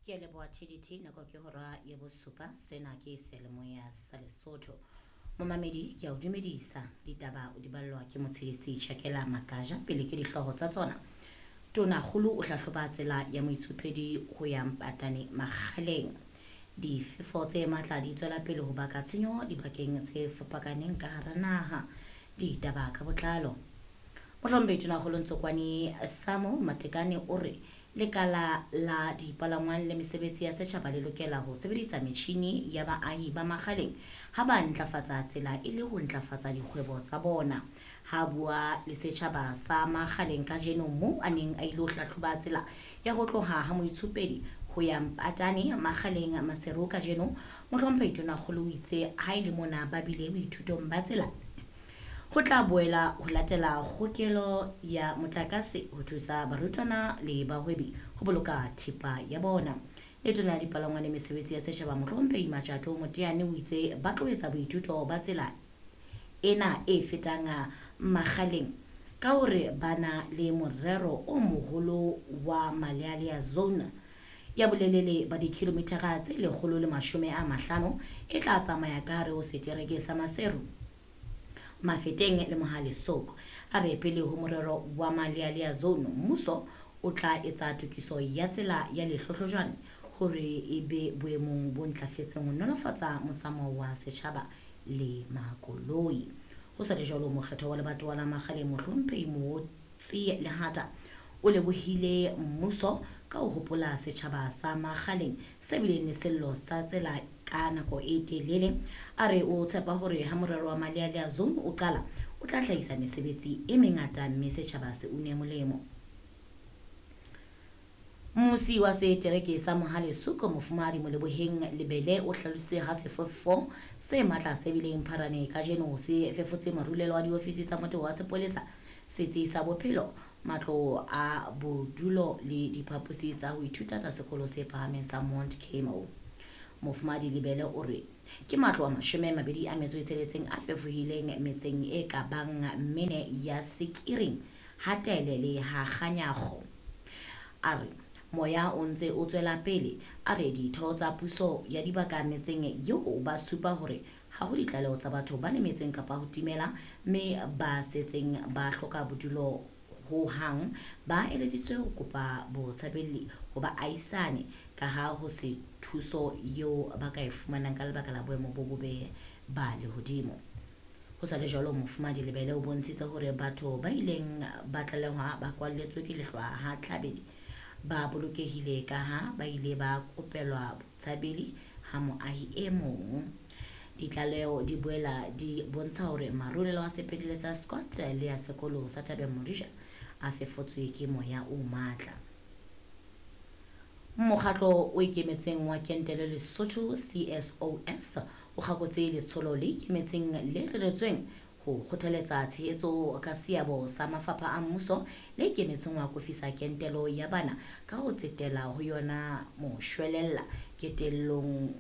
Ke a leboha TDT nako ke hora ya bosupa sena ke seyalemoya sa Lesotho. Momamedi ke a o dumedisa ditaba o di ballwa ke motshedisi Chakela Makaja pele ke dihlooho tsa tsona. Tonakgolo o hlahloba tsela ya moitshupedi ho ya Mpatane Makgaleng. Difefo tse matla di tswela pele ho baka tshenyo dibakeng tse fapakaneng ka hara naha. Ditaba ka botlalo. Mohlomphehi Tonakgolo Ntsokoane Samuel Matekane o re lekala la dipalangwang le mesebetsi ya setjhaba le lokela ho sebedisa metjhini ya baahi ba Makgaleng ha ba ntlafatsa tsela e le ho ntlafatsa dikgwebo tsa bona. Ha bua le setjhaba sa Makgaleng kajeno moo a neng a ilo hlahloba tsela ya ho tloha ha moitshupedi ho ya Mpatane Makgaleng Maseru kajeno, Mohlomphehi Tonakgolo o itse ha e le mona ba bile boithutong ba tsela ho tla boela ho latela kgokelo ya motlakase ho thusa barutwana le bahwebi ho boloka thepa ya bona. Letona la dipalangwang le mesebetsi ya setjhaba Mohlomphehi Matjato Moteane o itse ba tlo etsa boithuto ba tsela ena e fetang Makgaleng ka hore ba na le morero o moholo wa Malealea Zone ya bolelele ba dikilomithara tse 150 e tla tsamaya ka hare ho setereke sa Maseru, Mafeteng le Mohale Sok. A re pele ho morero wa Malealea Zone, mmuso o tla etsa tokiso ya tsela ya Lehlohlojwane hore e be boemong bo ntlafetseng ho nolofatsa motsamao wa setjhaba le makoloi. Ho sa le jwalo, mokgetho wa lebatowa la Makgaleng Mohlomphehi Mootsi Lehata o lebohile mmuso ka ho hopola setjhaba sa Makgaleng se bileng le sello sa tsela ka nako e telele. A re o tshepa hore ha morero wa Malealea Zone o qala, o tla hlahisa mesebetsi e mengata mme setjhaba se une molemo. Mmusi wa setereke sa Mohale Suko Mofumahadi Moleboheng Lebele o hlalositse ha sefefo se matla se bileng Pharane kajeno se fefotse marulelo a diofisi tsa motheo wa sepolesa, setsi sa bophelo, matlo a bodulo le diphaposi tsa ho ithuta tsa sekolo se phahameng sa Mount Carmel. Mofumahadi Lebele o re ke matlo a 26 a fefohileng metseng e ka bang mene ya Sekiring, Hatele le ha Kganyago. A re moya o ntse o tswela pele. A re ditho tsa puso ya dibaka metseng eo ba supa hore ha ho ditlaleho tsa batho ba lemetseng kapa ho timela, mme ba setseng ba hloka bodulo ho hang ba eleditswe ho kopa botshabelli ho baahisane ka ha ho se thuso eo ba ka e fumanang ka lebaka la boemo bo bobe ba lehodimo. Ho sa le jwalo, Mofumahadi Lebele o bontshitse hore batho ba ileng ba tlalehwa ba kwalletswe ke lehlwa ha Tlhabedi ba bolokehile ka ha ba ile ba kopelwa botshabeli ha moahi e mong. Ditlaleho di boela di bontsha hore marulelo a sepetlele sa Scott le a sekolo sa Thabeng Morija a fefotswe ke moya o matla. Mokgatlo o ikemetseng wa kentelo Lesotho CSOS o kgakotse letsholo le ikemetseng le reretsweng ho kgothaletsa tshehetso ka seabo sa mafapha a mmuso le ikemetseng ho akofisa kentelo ya bana ka ho tsetela ho yona moshwelella kentelong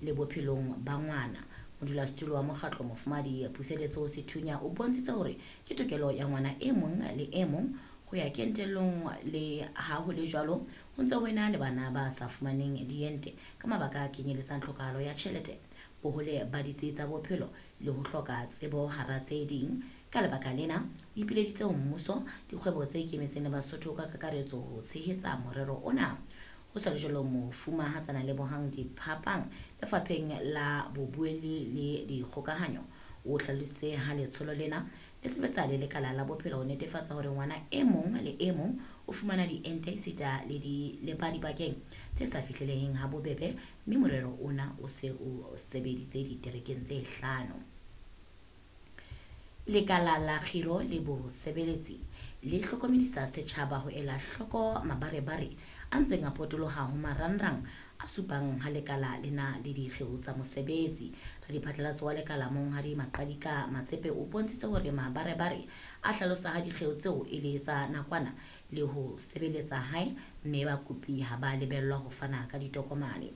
le bophelong ba ngwana. Modulasetulo wa mokgatlo Mofumahadi Puseletso Sethunya o bontshitse hore ke tokelo ya ngwana e mong le e mong ho ya kentelong, le ha ho le jwalo ho ntse ho ena le bana ba sa fumaneng diente ka mabaka a kenyeletsang tlhokahalo ya tjhelete, bohole ba ditsi tsa bophelo le ho hloka tsebo hara tse ding. Ka lebaka lena, o ipileditse ho mmuso, dikgwebo tse ikemetseng le Basotho ka kakaretso ho tshehetsa morero ona. Ho sa le jwalo, Mofumahatsana Lebohang Diphapang lefapheng la bobuelli le dikgokahanyo o hlalositse ha letsholo lena le sebetsa le lekala la bophelo ho netefatsa hore ngwana e mong le e mong o fumana diente esita le ba dibakeng tse sa fihleleheng ha bobebe, mme morero ona o se o sebeditse diterekeng tse 5. Lekala la kgiro le bosebeletsi le hlokomedisa setjhaba ho ela hloko mabarebare a ntseng a potoloha ho marangrang a supang ha lekala lena le dikgeo tsa mosebetsi. Radiphatlalatso wa lekala Monghadi Maqadika Matsepe o bontshitse hore mabarebare a hlalosa ha dikgeo tseo e le tsa nakwana le ho sebeletsa hae, mme bakopi ha ba lebellwa ho fana ka ditokomane.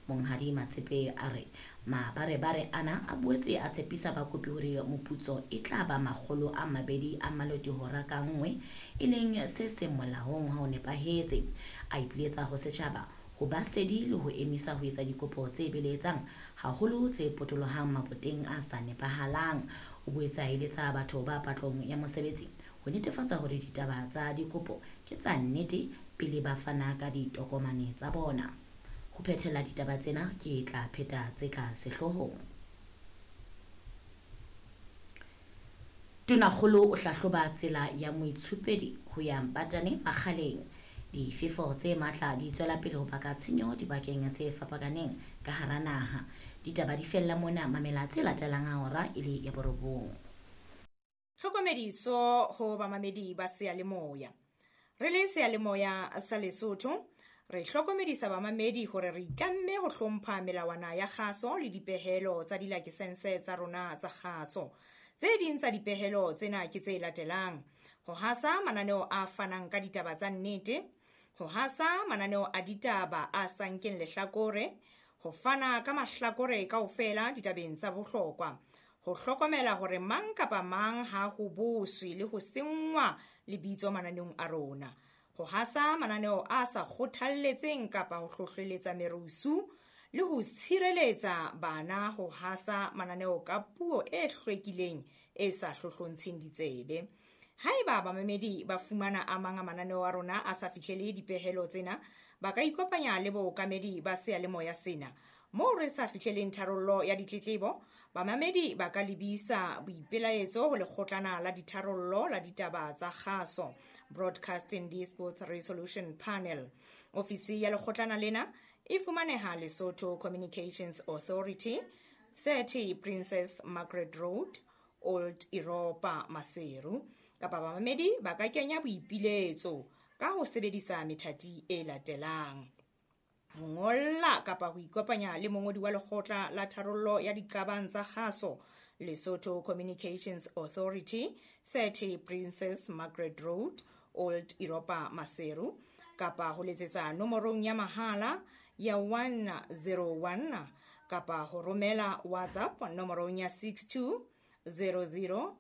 Monghadi Matsepe a re Mabarebare ana a boetse a tshepisa bakopi hore moputso e tla ba 200 a maloti hora ka nngwe, e leng se seng molaong ha o nepahetse. A ipiletsa ho setjhaba ho ba sedi le ho emisa ho etsa dikopo tse beletsang, haholo tse potolohang maboteng a sa nepahalang. O boetse a eletsa batho ba patlong ya mosebetsi ho netefatsa hore ditaba tsa dikopo ke tsa nnete pele ba fana ka ditokomane tsa bona. Ho phethela ditaba tsena ke tla pheta tse ka sehloohong. Tonakgolo o hlahloba tsela ya moitshupedi ho ya Mpatane Makgaleng. Difefo tse matla di tswela pele ho baka tshenyo dibakeng tse fapakaneng ka hara naha. Ditaba di fella mona, mamela tse latelang ha hora e le ya 9. Tlhokomediso ho bamamedi ba seyalemoya. Re le seyalemoya sa Lesotho, re hlokomedisa bamamedi hore re itlamme ho hlompha melawana ya kgaso le dipehelo tsa dilakesense tsa rona tsa kgaso. Tse ding tsa dipehelo tsena ke tse latelang: ho hasa mananeo a fanang ka ditaba tsa nnete, ho hasa mananeo a ditaba a sa nkeng lehlakore, ho fana ka mahlakore kaofela ditabeng tsa bohlokwa, ho hlokomela hore mang kapa mang ha ho boswe le ho senngwa lebitso mananeong a rona, ho hasa mananeo a sa kgothalletseng kapa ho hlohleletsa merusu, le ho tshireletsa bana ho hasa mananeo ka puo e hlwekileng e sa hlohlontsheng ditsebe. Haeba bamamedi ba fumana a mang a mananeo a rona a sa fihlele dipehelo tsena, ba ka ikopanya le bookamedi ba seyalemoya sena. Moo re sa fihleleng tharollo ya ditletlebo, bamamedi ba ka lebisa boipelaetso ho lekgotlana la ditharollo la ditaba tsa kgaso, Broadcasting Disputes Resolution Panel. Ofisi ya lekgotlana lena e fumaneha Lesotho Communications Authority, 30 Princess Margaret Road, Old Europa, Maseru. Kapa bamamedi ba ka kenya boipiletso ka ho sebedisa methati e latelang: ho ngolla kapa ho ikopanya le mongodi wa lekgotla la tharollo ya diqabang tsa kgaso, Lesotho Communications Authority, 30 Princess Margaret Road, Old Europa, Maseru, kapa ho letsetsa nomorong ya mahala ya 101, kapa ho romela WhatsApp nomorong ya 62 00